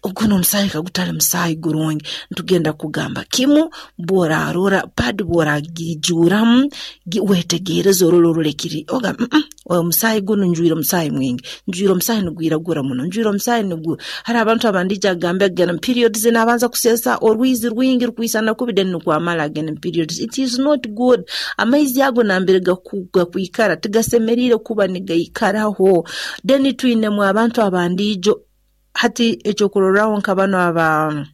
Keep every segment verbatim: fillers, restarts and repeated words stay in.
Oguno omusaayi kagutali musaayi gurungi. Ntugenda kugamba kimu, bw'oraarora pad, bw'oragiijuuramu, weetegereze, orole orole kiri, ogamba, mm omusaayi gunu njwire omusaayi mwingi, njwire omusaayi nugwiragura muno, njwire omusaayi nugu. Hariho abantu abandiija agamba agenda mu periods, naabanza kuseesa orwizi rwingi rukwisana kubi, then nukwo amara agenda mu periods. It is not good. Amaizi ago nambere gakwikara tigasemeriire kuba nigaikaraho. Then twinemu abantu abandiijo, hati ekyokurorraho nka banu aba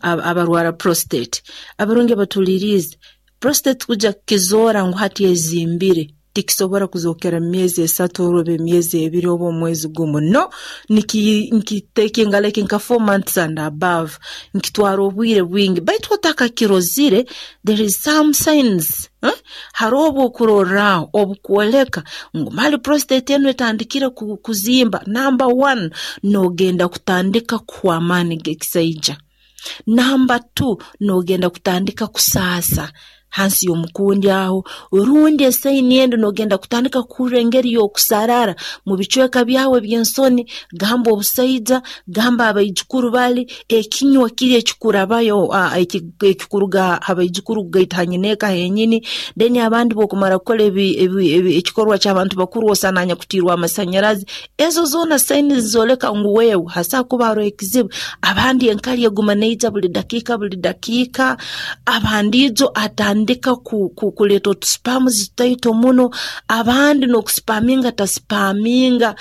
abarwara prostate. Abarungi abatuhuliriize, prostate kujya kukizoora ngu hati ezimbire, tikisobora kuzookera mu myezi esatu oba emyezi ebiri oba omwezi gumu. No, nikitekinga like nka four months and above, nikitwara obwire bwingi. Baitu otakakirozire, there is some signs, eh? Haroho obwokurorraho obukwoleka ngu mali prostate enu etandikire kuzimba. Number one, noogenda kutandika kuhwa amaani g'ekisaija. Number two, noogenda kutandika kusaasa hansi y'omukundi aho, rundi esaini endi noogenda kutandika kuhurra engeri y'okusarara mu bicweka byawe eby'ensoni, gamba obusaija, gamba abaijukuru bali, ekinywa kiri ekikurabayo, ekikuruga ha baijukuru kugaita ha nyineeka henyini. Then abandi bw'okumara kukora ekikorwa ky'abantu bakuru, osana anyakutiirwe amasanyarazi. Ezo zoona signs zizooleka ngu wewe hasobora kuba haroho ekizibu. Abandi enkari eguma neija buli dakiika buli dakiika, abandi ijo atandika kuleeta otusperms tutaito muno, abandi n'okusperminga tasperminga.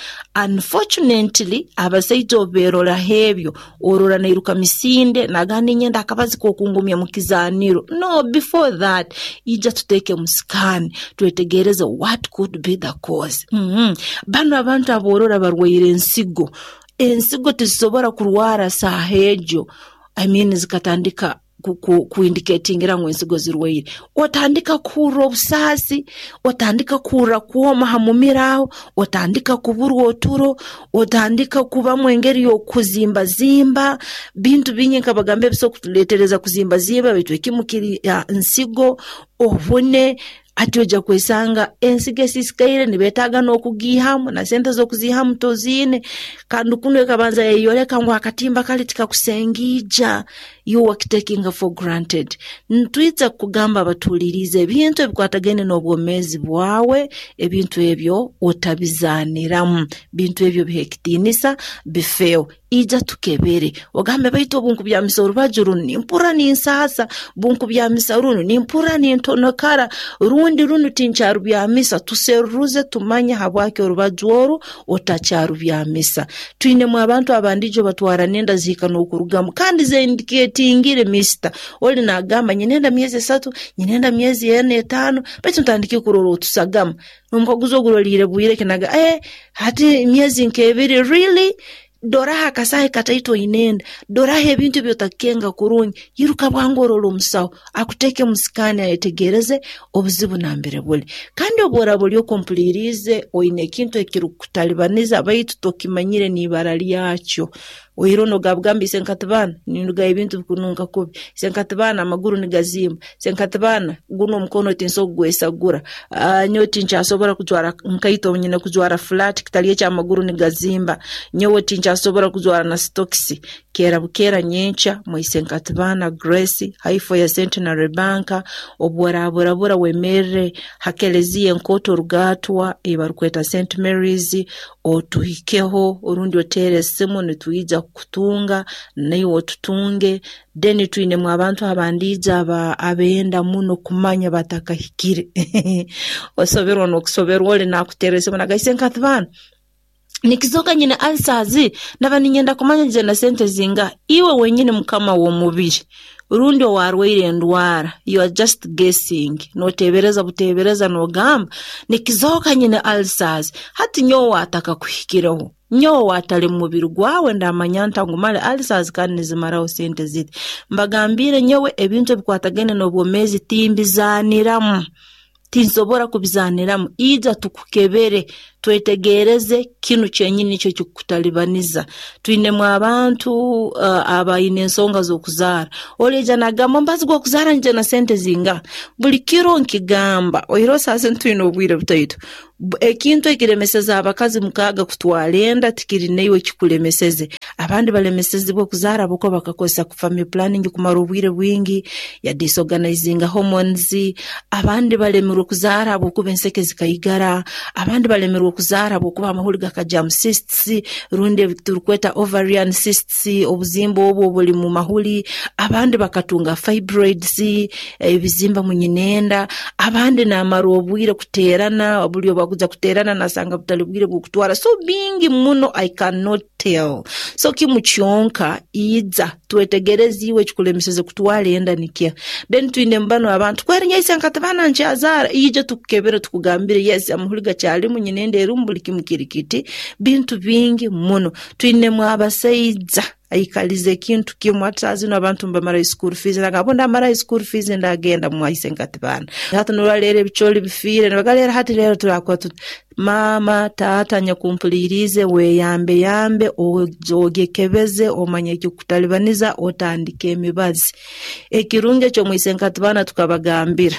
Unfortunately, abasaija obu beeroraho ebyo, orora nairuka misinde, nagamba, "Ninyenda akabazi k'okungumya mu kizaaniro." No, before that, ija tuteeke mu scan, twetegereze what could be the cause. mm -hmm. bano abantu aboorora barwaire ensigo, ensigo tizisobora kurwara saaha egyo, I mean, zikatandika kuindicatingira ngu ensigo zirwaire. Otandika kuhurra obusaasi, otandika kuhurra kwoma ha mumiro aho, otandika kuburwa oturo, otandika kubamu engeri y'okuzimbazimba. Bintu bingi nkabagamba ebisobora kutuleetereza kuzimbazimba, baitu ekimu kiri nsigo, obune. Hati ojja kwesanga ensigo esisikaire nibeetaaga n'okugiihamu, na sente z'okuziihamu toziine, kandi kunu ekabanza yayoleka ngu akatimba kali tikakusengiija. You wakitakinga for granted. Ntwija kugamba abatuhuliriize, ebintu ebikwatagaine n'obwomeezi bwawe, ebintu ebyo otabizaaniramu, bintu ebyo biha ekitiinisa, bifeeho. Ija tukebere, ogambe, "Baitu obu nkubyamisa orubaju runu nimpurra ninsaasa, bunkubyamisa runu nimpurra nintonokara, rundi runu tinkyarubyamisa." Tuseruruze tumanye habwaki orubaju oru otakyarubyamisa. Twinemu abantu abandijo batwara nenda, zihika n'okurugamu kandi zendicatingire. Mister oli nagamba, "Nyinenda myezi esatu, nyinenda myezi ena, etaano, baitu ntandike kurora otusagama." Nomukaguza, "Oguroliire bwire kinaga?" "Eh, hati myezi nk'ebiri." Really? Doraho akasahi kataito oinenda, doraho ebintu ebyotakukenga kurungi. Iruka bwangu orole omusaho, akuteeke mu scan, ayetegereze obuzibu nambere buli. Kandi obu oraba oli okumpuliiriize, oine ekintu ekirukutalibaniza baitu tokimanyire n'ibara lyakyo, oiro nogabugamba, "Isenkatibaana, nindugayo ebintu bikununka kubi, isenkatibaana, amaguru nigazimba, isenkatibaana, guno omukono tinsobola kugwesagura, nyowe tinkyasobora kujwara nkaito, nyine kujwara flat, kitali ekyo amaguru nigazimba, nyowe tinkyasobora kujwara na sitokisi," keera bukeera nyenkya mu Isenkatibaana Grace, haifo ya Centenary Bank. Obu oraburabura, wemerre ha keleziya enkooto Rugaatwa ei barukweta Saint Mary's, otuhikeho orundi oteere esimu, nitwija kukutunga, naiwe otutunge. Then twinemu abantu abandiija abenda muno kumanya batakahikire. Osoberwa n'okusoberwa, oli nakuteera esimu nagamba, "Isenkatibaana, nikizoka nyine ulcers, naba ninyenda kumanya nigenda sente zingaha." Iwe wenyini mukama w'omubiri, rundi owarwaire endwara, you are just guessing, noteebereza buteebereza, nogamba, "Nikizoka nyine ulcers." Hati nyowe watakakuhikireho, nyowe watali mu mubiri gwawe, ndamanya nta ngu mali ulcers kandi nizimaraho sente ziti? Mbagambiire, nyowe ebintu ebikwatagaine n'obwomeezi timbizaaniramu, tinsobora kubizaaniramu. Ija tukukebere. Twetegereze kinu kyenyini nikyo kikutalibaniza. Twinemu abantu uh, abaine ensonga z'okuzaara. Oleija nagamba mbazi gw'okuzaara nje na sente zinga. Buli kiro nkigamba, oihireho saasi ntwine obwire butaito. Ekintu ekiremeseza abakazi mukaaga kutwara enda tikiri naiwe kikulemeseze. Abandi balemesezibwe kuzaara habwokuba bakakozesa family planning kumara obwire bwingi, ya disorganizinga hormones. Abandi balemerwe kuzaara habwokuba enseke zikaigara. Abandi balemerwe kuzaara habwokuba amahuri gakajamu cysts, rundi ebi turukweta ovarian cysts, obuzimba obwo obuli mu mahuri. Abandi bakatunga fibroids, ebizimba mu nyinenda. Abandi namara obwire kuterana, buli obu bakuja kuterana nasanga butali bwire bw'okutwara. So bingi muno I cannot tell. So kimu kyonka iza twetegereze iwe ekikulemeseze kutwara enda nikya. Then twine mbano abantu kwerinyaisa nkatabana nkyazaara, ije tukukebere tukugambire yes amahuri gakyalimu nyinenda erimu buli kimu kiri kiti. Bintu bingi muno. Twinemu abasaija aikalize ekintu kimu hati saa zino abantu mbamara school fees, nagamba ndamara school fees ndagenda mwaise nkatibana. Hati nuraleera ebicooli bifiire nibagaleera hati leero turakora tuti mama taata nyakumpuliriize weyambe yambe ogyekebeze omanye ekikutalibaniza otandike emibazi. Ekirungi eky'omwise nkatibana tukabagambira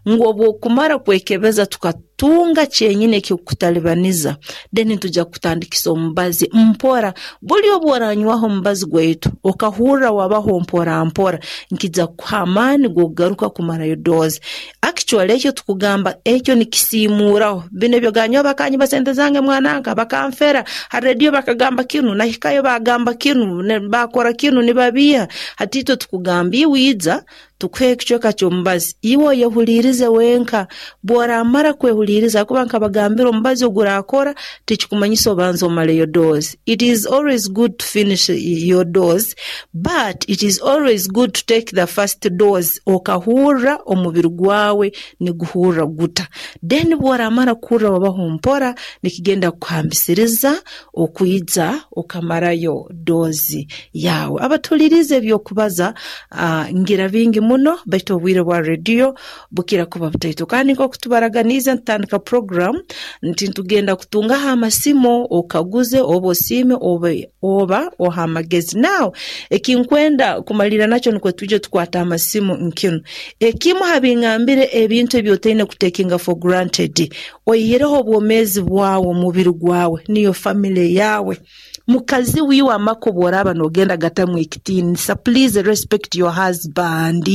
ngu obwokumara kwekebeza tukatunga kyenyini ekikutalibaniza, then nituja kutandikisa omubazi mpora. Buli obu oranywaho omubazi gwaitu okahurra wabaho mpora mpora, nkija kukuha amaani g'okugaruka kumarayo dose. Actually ekyo tukugamba ekyo nikisiimuuraho. Bino ebyo ganywa bakanyiba sente zange mwananka bakanfera ha radio bakagamba kinu nahikayo bagamba kinu bakora kinu nibabiha. Hati itwe tukugamba iwe iza tukuhe ekicweka ky'omubazi, iwe oyehulirize wenka. Bw'oramara kwehuliriza, kuba nkabagambira omubazi ogurakora tikikumanyisa obanza omaleyo dose. It is always good to finish your dose, but it is always good to take the first dose okahurra omubiri gwawe niguhurra guta. Then bw'oramara kuhurra wabaho mpora, nikigenda kukuhambisiriza okwija okamarayo dozi yawe. Abatulirize ebyokubaza uh, ngira bingi muno, baitu obwire bwa radio bukira kuba butaito. Kandi nk'oku tubaraganiize ntutandika program nti ntugenda kutungaho amasimu okaguze oba osiime oba, oba oha amagezi. Now ekinkwenda kumalira nakyo nikwo twije tukwata amasimu nkinu. Ekimu habingambire ebintu ebyotaine kutekinga for granted, oihireho obwomeezi bwawe, omubiri gwawe, niyo family yawe. Mukazi wiwe amaka obworaba nogenda gatamu ekitiinisa, please respect your husband.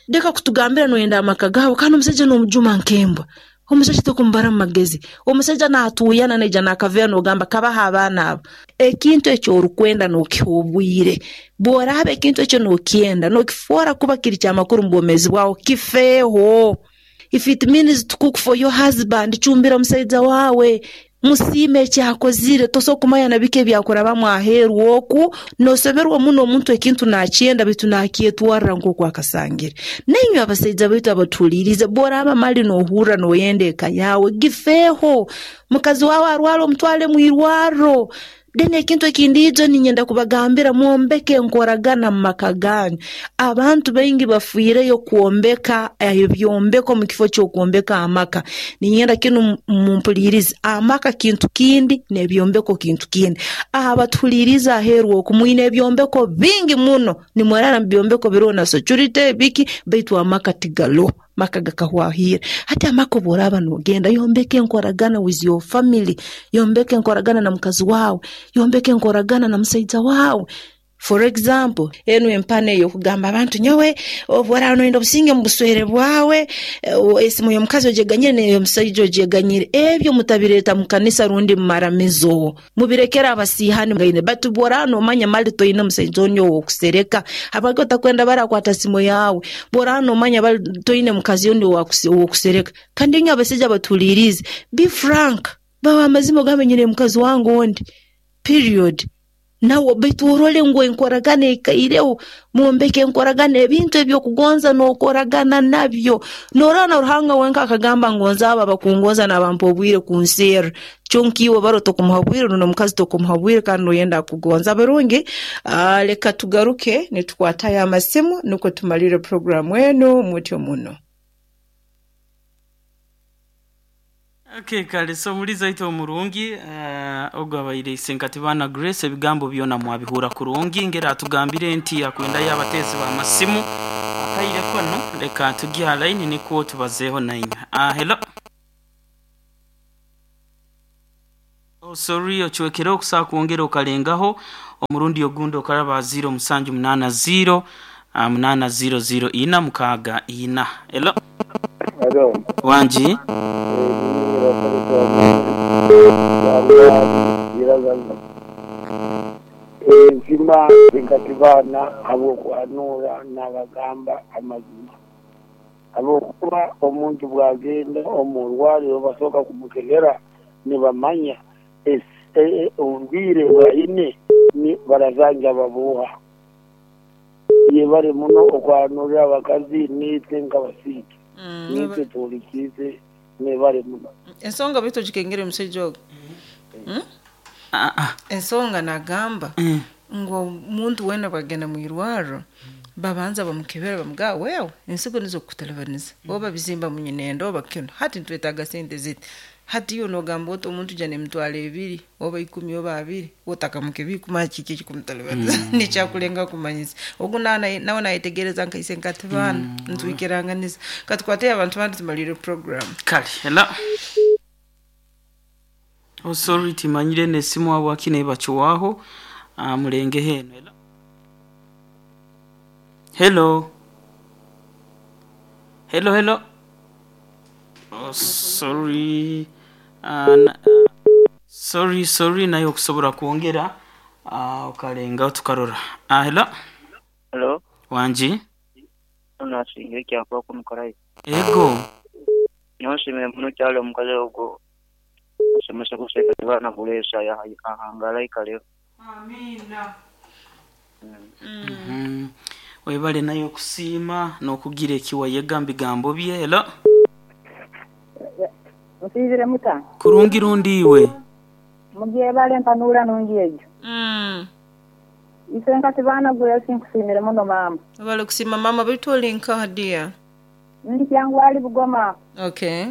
Ndeka kutugambira noyenda amaka gawe kandi omusajja n'omujuma nk'embwa. Omusajja tokumubara mu magezi. Omusajja naatuuyana naija naakaveera nogamba kabaha abaana abo. Ekintu ekyo orukwenda nokiha obwire. Bw'oraaba ekintu ekyo nokyenda nokifoora kuba kiri kyamakuru mu bwomeezi bwawe, kifeeho. If it means to cook for your husband, cumbira omusaija wawe, musiime ekyakozire. Tosobola kumanya na biki ebyakurabamu aheeru oku, nosoberwa muno omuntu ekintu nakyenda baitu nakyetwarra nk'oku akasangire. Nainywe abasaija baitu abatuhuliirize, bw'oraaba mali nohurra noyenda eka yawe, gifeeho. Mukazi wawe arwara omutwale mwirwarro. Then ekintu ekindi ijo ninyenda kubagambira, mwombeke enkoragana mu maka ganyu. Abantu baingi bafiireyo kwombeka ebyombeko mu kifo ky'okwombeka amaka. Ninyenda kinu mumpulirize, amaka kintu kindi n'ebyombeko kintu kindi. Abatuhuliirize aheeru oku mwine ebyombeko bingi muno, nimwerara mu byombeko biroho na security biki, baitu amaka tigaloho. Maka gakahwahire. Hati amaka obworaba nogenda, yombeka enkoragana with your family, yombeka enkoragana na mukazi wawe, yombeka enkoragana na musaija wawe. For example, enu empano ey'okugamba abantu nyowe obworaba noyenda obusinge mu buswere bwawe, esimu y'omukazi ogyeganyire n'ey'omusaija ogyeganyire, ebyo mutabireeta mu kanisa rundi mu maramizo. Mubirekere abasiihani gaine. Baitu bworaba nomanya mali toine musaija ondi ow'okusereka, habwaki otakwenda barakwata simu yawe? Bworaba nomanya bali toine mukazi ondi ow'okusereka. Kandi inywe abasaija batuhuliirize, be frank, bawa amazima ogambe nyine mukazi wange ondi, period. Nawe baitu orole ngu enkoragana ekaireho, mwombeke enkoragana, ebintu ebyokugonza n'okoragana nabyo. Norora na Ruhanga wenka akagamba ngonza abo abakungonza nabampa obwire kunserra. Kyonka iwe baro tokumuha bwire, rundi omukazi tokumuha bwire kandi noyenda akugonza. Abarungi, uh, leka tugaruke nitukwatayo amasimu nukwo tumalire programu enu mutyo muno. Okay, kale so muliza ito omurungi uh, ogwo abaire isenkati baana Grace ebigambo byona mwabihura kurungi ngera atugambire nti akwenda y'abateezi b'amasimu akaire kono leka tugya line nikwo tubazeeho nainywe. Ah, hello. Oh, sorry ocwekere okusaa kwongera okalengaho omurundi ogundi okaraba ziro musanju munana ziro ah, munana ziro ziro ina mukaaga ina. Hello. Hello. Wanji. Enzima enkatibana ab'okwanura n'abagamba amazima ab'okuba omuntu bwagenda omu rwariro basooka kumukebera nibamanya obubwire bwaine barazanja babuha yebare muno okwanura abakazi nitwe nk'abasiiki nitwe tuhulikize nebare muno. Ensonga bitu gikengere omusajja ogwo. Mm? Ah, ah. Ensonga nagamba Mm. ngu omuntu wena bwagenda mu irwariro babanza bamukebera bamugaa wewe ensigo nizo kukutalabaniza oba bizimba munyinenda oba kino hati nitwetaaga sente ziti hati iyo nogamba oti omuntu jana emitwaro ebiri oba ikumi oba abiri otakamukebiri kumanya kiki ekikumutalabaniza nikyakulenga kumanyisa ogu nawe nawe nayetegereza nkaise nkati baana ntwikiranganiza katukwate abantu bandi tumalire program. Kale hello. Oh, sorry timanyire nesimu abo akine bachuwaho uh, mulenge heno. Hello. Hello. Hello, hello. Oh, sorry. Uh, na, uh, sorry sorry nayo okusobola kwongera uh, okalenga tukarora. Uh, hello. Hello, Wanji. nasinga ekyakuba kumukora. Ego. Nyoshimire muno kyalo omukazi ogwo osomesa kuseka baana kuleesa ahangala ikaleho. Amina. Mm. Webale nayo okusiima n'okugira ekiwayega mu bigambo bye. Hello. Musizire muta Kurungi rundi iwe. mugyebale mpanura nungi egyo Mm. ise nkati baana gwe sinkusiimire muno maama. Webale kusiima mama bitu olinka hadiya. Ndi kyangu ali Bugoma. Okay.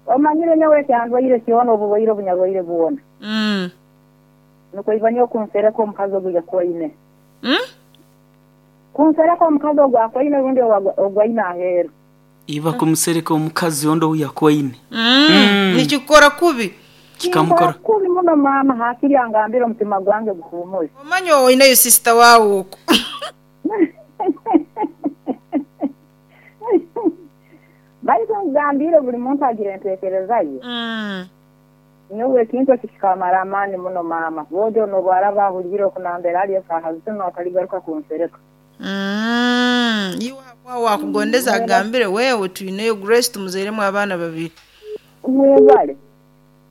Omanyire nyowe kyandwaire kyona obubwaire obunyarwaire bwona Mm. nuko iba niyo kunsereka omukazi ogwo yakwaine Mm? kunsereka omukazi ogwo akwaine rundi ogwaine aheeru Iba kumusereka omukazi ondo yakwaine. Mm. Mm. Nikikora kubi. Kikamukora. Kubi muno maama hakiri angambire omutima gwange guhumure. Omanya oinayo sister wawe okwo. Baitu ngambire buli muntu agira entekereza ye. Mm. Nyowe ekintu eki kikamara amaani muno maama bojo nobwaraba ahurire okunambera ali esaaha zino ataligaruka kunsereka. Mm. Iwe habwa wakugondeza agambire wewe tuineyo Grace tumuzairemu abaana babiri. Mwebale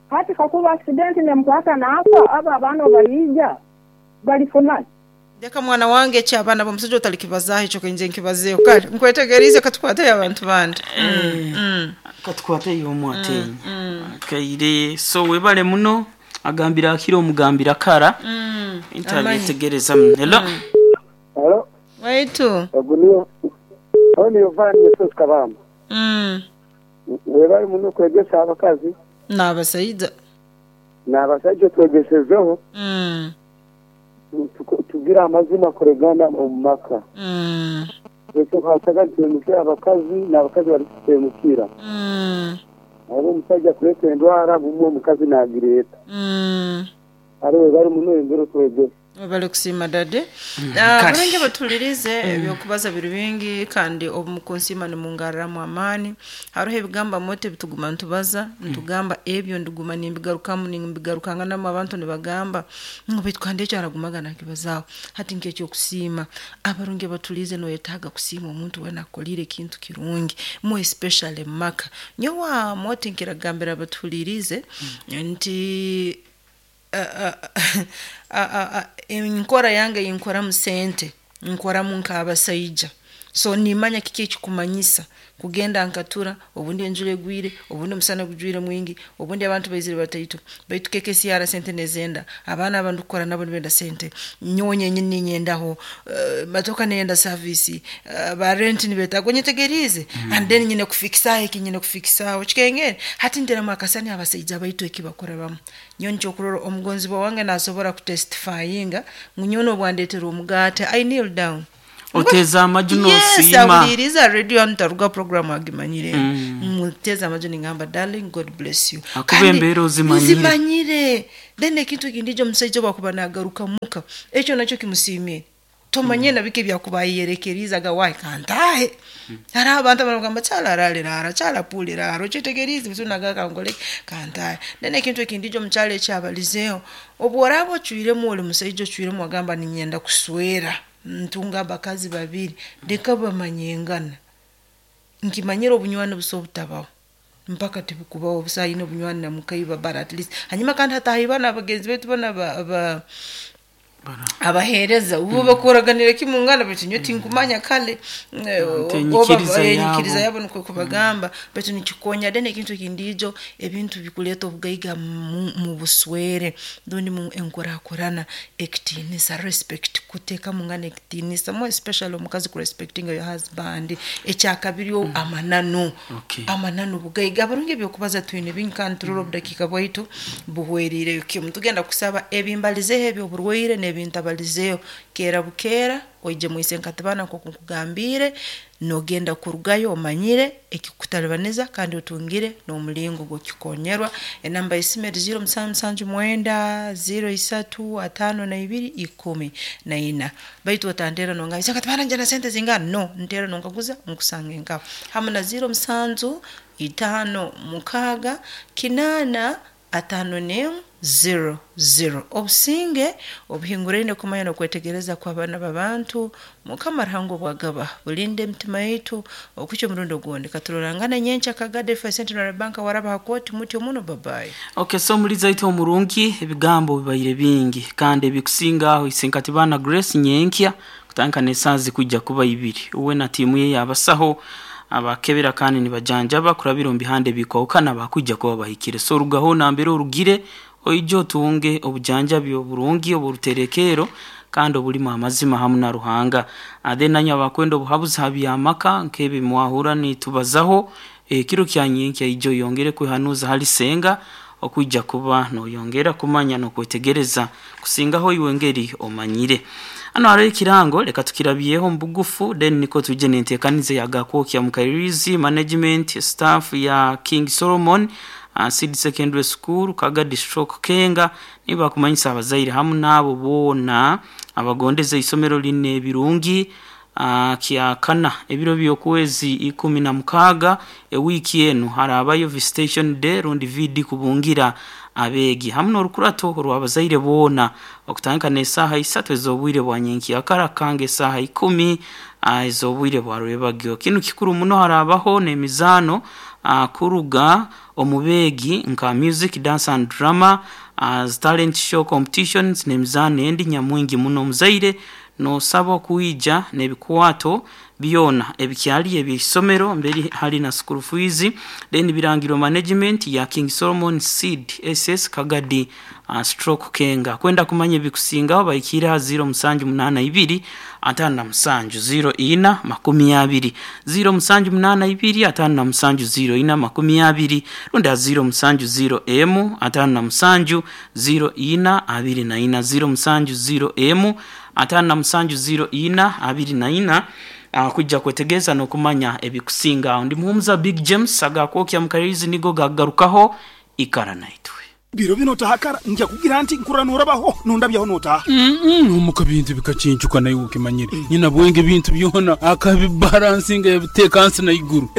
hati kakuba accident nemukwata naafa abo abaana baliija balifuna. Ndeka mwana wange eki abaana b'omusajja otalikibazaho ekyo kenje nkibazeeho kale nkwetegerize katukwate abantu bandi. Mm. Mm. Katukwate yomu atenya. Kaire so webale muno agambira akira omugambira kara. Mm. Intabyetegereza. Hello. Hello. Waitu. Ogu niyo ogu niyo Yohana Yesu Kabamba. Mm. Webale muno kwegesa abakazi N'abasaija. n'abasajja twegesezeho Mm. tugira amazima kuregana omu maka. Mm. Ekyo tutemukira abakazi n'abakazi bari kutemukira. Mm. Hariho omusajja kureeta endwara bumwe omukazi nagireeta. Mm. Hariho webale muno engero twegesa. Webale kusiima dade. Kale. Bulungi batulirize ebyokubaza biri bingi kandi obumukunsiima nimungarramu amaani. Hariho ebigamba mote bituguma nitubaza nitugamba ebyo ndiguma nimbigarukamu nimbigarukanganamu abantu nibagamba ngu baitu kandi ekyo aragumaga nakibazaaho hati nk'ekyokusiima abarungi batulize noyetaaga kusiima omuntu wena akolire ekintu kirungi more especially maka nyowe mote nkiragambira batulirize nti enkora yange yinkoramu sente nkoramu nk'abasaija So nimanya kiki ekikumanyisa kugenda nkatura, obundi enjura egwire, obundi omusana gujwire mwingi, obundi abantu baizire bataito, baitu K K C R sente nezenda, abaana abantu kukora nabo nibenda sente, nyowe nyenyini ninyendaho, uh, matoka neyenda service, uh, ba rent nibetaaga, onyetegerize. Mm. And then nyine kufikisaho eki, nyine kufikisaho kikengere. Hati nteramu akasani abasaija baitu eki bakora bamu. Nyowe nikyo kurora omugonzibwa wange nasobora kutestifyinga ngu nyowe nobwandetera omugaate, I kneel down. Oteza amaju Yes, n'osiima. Awuliriza radio ntaruga program agimanyire. Muteza amaju ningamba, "Darling, God bless you." Akuba Kandi embeera ozimanyire. nzimanyire. Then ekintu ekindi ekyo omusaija bwakuba nagaruka muka, ekyo nakyo kimusiimire. Tomanye na biki byakuba yerekerizaga wayi kantahe. Hariho abantu abarikugamba kyala arariraara, kyala apuriraara, okyetegerize bitu nagaka nkole kantahe. Then ekintu ekindi ekyo omukyala ekyabalizeeho, obu oraaba ocwiremu ori musaija ocwiremu wagamba ninyenda kuswera, ntunga abakazi babiri, leka bamanyengana. Nkimanyire obunywani busa obutabaho, mpaka tibikubaho busa ayine obunywani na mukaiba, but at least hanyuma kandi hatahi bana abagenzi baitu bana ba, ba abaheereza ubu bakoraganira kimungana, baitu nyowe tinkumanya kale eh, Nti enyikiriza oba- eh, yabo. enyikiriza yabo nikwo kubagamba, baitu nikikonya. Then ekintu ekindiijo ebintu bikuleeta obugaiga mu, mu buswere rundi mu enkurakurana, ekitiinisa, respect, kuteeka mungana ekitiinisa, more especially omukazi kurespectinga your husband. Ekyakabiri mm. amananu. Okay. Amananu bugaiga. Abarungi, ebyokubaza twine bingi kandi turora obudakiika bwaitu buhweriireyo kimu. Tugenda kusaba ebimbalizeho ebyoburwaire n'ebintabalizeho, keera bukeera oije mwise nkatibana nkoku nkugambire, nogenda kurugayo omanyire ekikutalibaniza kandi otungire n'omulingo gw'okukikonyerwa. Enamba y'esimu eri ziro musanju musanju mwenda ziro isatu atano na ibiri ikumi na ina. Baitu otantera nongamba, "Ise nkatibana nje na sente zingana?" No, ntera nonkaguza nkusange nkaho, hamu na ziro musanju itaano mukaaga kinaana atano n'emu zero zero. Obusinge obuhinguraine kumanya n'okwetegereza kw'abaana b'abantu, Mukama Ruhanga obwagaba bulinde emitima yaitu okukya omurundi ogundi. Katurorangana nyenkya Kagadi F Centenary Bank waraba hakooti mutyo muno. Babayi. Okay, so muliza itu omurungi, ebigambo bibaire bingi kandi ebikusinga aho Isenkatibana Grace nyenkya kutandika n'esaazi kujja kuba ibiri, uwe na tiimu ye yabasaho abakebera kandi nibajanjaba kurabira omu bihande bikwahukana bakujja kuba bahikire. So orugaho nambere orugire oije otunge obujanjabi oburungi oburuterekero kandi obulimu amazima hamu na Ruhanga. Then nanywe abakwenda obuhabuzi ha byamaka nk'ebi mwahura nitubazaho ekiro kya nyenkya, ijo oyongere kwehanuza hali senga okwijja kuba noyongera kumanya n'okwetegereza kusingaho iwe ngeri omanyire. Hano hariho ekirango, leka tukirabyeho mu bugufu, then niko tuje n'enteekaniza ya Gakwokya Mukairizi management staff ya King Solomon uh, Seed Secondary School, Kagadi Stroke Kenga, niba kumanyisa abazaire hamu n'abo boona abagondeza isomero line ebirungi uh, kyakana ebiro by'okwezi ikumi na mukaaga ewiiki enu harabayo visitation day rundi V D kubungira abeegi hamu n'orukurato orw'abazaire boona okutandika n'esaaha isatu ez'obwire bwa nyenkyakara kanga esaaha ikumi uh, ez'obwire bwa rwebagyo. Kinu kikuru muno, harabaho n'emizaano uh, kuruga omu beegi nka music, dance and drama, uh, talent show competitions n'emizaano endi nyamwingi muno. Omuzaire nosaba okwija n'ebikwato byona ebikyali eby'isomero mberi hali na school fees. Then birangirwa management ya King Solomon Seed S S Kagadi uh, stroke Kenga. Kwenda kumanya ebikusingaho bahikire ha ziro musanju munaana ibiri atano na musanju ziro ina makumi abiri, ziro musanju munaana ibiri atano na musanju ziro ina makumi abiri, rundi ha ziro musanju ziro emu atano na musanju ziro ina abiri na ina, ziro musanju ziro emu atano na musanju ziro ina abiri na ina, uh, kujja kwetegereza n'okumanya ebikusinga aho. Ndi Muhumuza Big James, agakwokya Mukaririzi nigo gagarukaho. Ikara naitwe. Biro bino otahakara nja kugira nti nkurra norabaho nondabyaho notaha. Omuka bintu bikacincuka naye ukimanyire nyina bwenge bintu byona akabibalansinga yabiteeka nsi na iguru.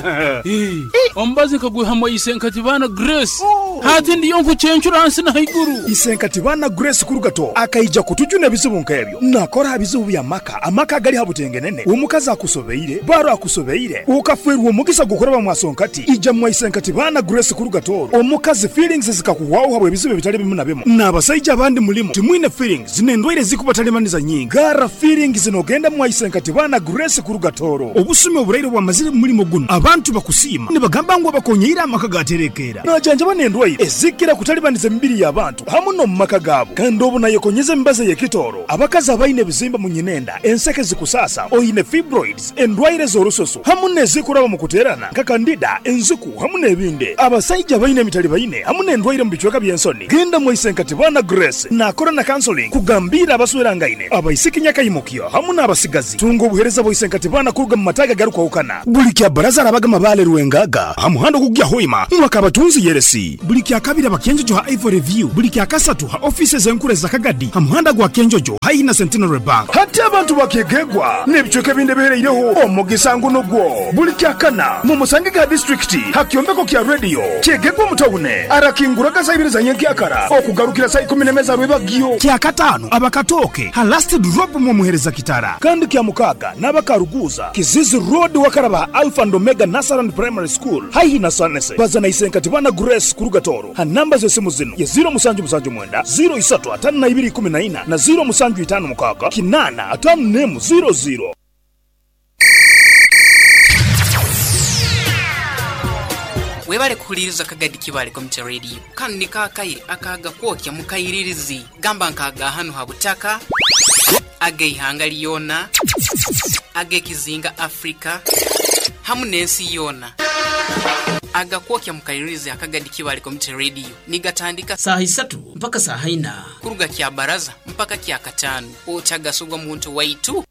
Eh, omubazi nkagwihamu Isenkatibana Grace. Hati ndiyo nkucencura hansi na haiguru. Isenkatibana Grace Kurugato akaija kutujuna ebizibu nk'ebyo. Nakora bizibu bya maka, amaka gali habutengenene. Omukazi akusobeire, baro akusobeire, ukaferwa omugisa gukoraba mwasonkati. Ija mwa Isenkatibana Grace Kurugato. Omukazi feelings zikakuwaho habwe ebizibu bitali bimu na bimu. N'abasajja abandi mulimu timwine feelings n'endwaire zikubatalibaniza nyingi. Gara feelings nogenda mwa Isenkatibana Grace Kurugatoro. Obusumi oburaire bwamazire mulimo guno. Abantu bakusiima nibagamba ngu abakonyeira amaka gaterekera. Najanjaba n'endwaire ezikira kutalibaniza emibiri y'abantu hamu no mu maka gaabo. Kandi obu nayekonyeza embaza y'ekitoro. Abakazi abaine ebizimba mu nyinenda, enseke zikusasa, oyine fibroids, endwaire z'orususu hamu n'ezikuraba mu kuterana nka kandida, enziku hamu n'ebindi. Abasajja abaine emitali baine hamu n'endwaire mu bicweka by'ensoni. Genda mu Isenkatibana Grace nakora na counseling kugambira abaswerangaine, abaisiki nyakayimukyo hamu n'abasigazi. Tunga obuhereza bwa Isenkatibana kuruga mu mataga garukwahukana. Buli kya baraza arabaga mabale Rwengaga hamuhando kugya hoima mwaka abatunzi yeresi. Buli kya kabiri abakenjojo ha Ivory View. Buli kya kasatu ha offices enkure za Kagadi hamuhanda gwa Kenjojo haihi na Centenary Bank. Hati abantu bakegegwa n'ebicweka ebindi bihereireho omugisa nguno gwo. Buli kya kana mu musange ga district hakyombeko kya radio kyegegwa mutawune arakinguraga saa ibiri za nyenkyakara okugarukira saa ikumi n'emeza rwebagyo. Kya katano abakatoke ha last drop mu muhereza kitara. Kandi kya mukaga n'abakaruguza Kizizi Road wakaraba Alpha and Omega Nasaran Primary School haihi na Sanese. Bazana Isenkatibana Grace Kurugatoro ha namba z'esimu zino ya zero musanju musanju mwenda zero isatu atano na ibiri kumi na ina na zero musanju itano mukaga kinana atano nemu zero zero. Webale kuhuliriza Kagadi Kibale Community Radio. Kanu ni kakaire akaga kwokya mukayiririzi gamba nkaga hanu habutaka ageihanga lyona agekizinga Afrika hamu n'ensi yona. Aga kwokya mukayiririzi Akagadi Kibale Community Radio nigatandika saa isatu mpaka saa ina kuruga kya baraza mpaka kya katano otagasugwa muntu waitu.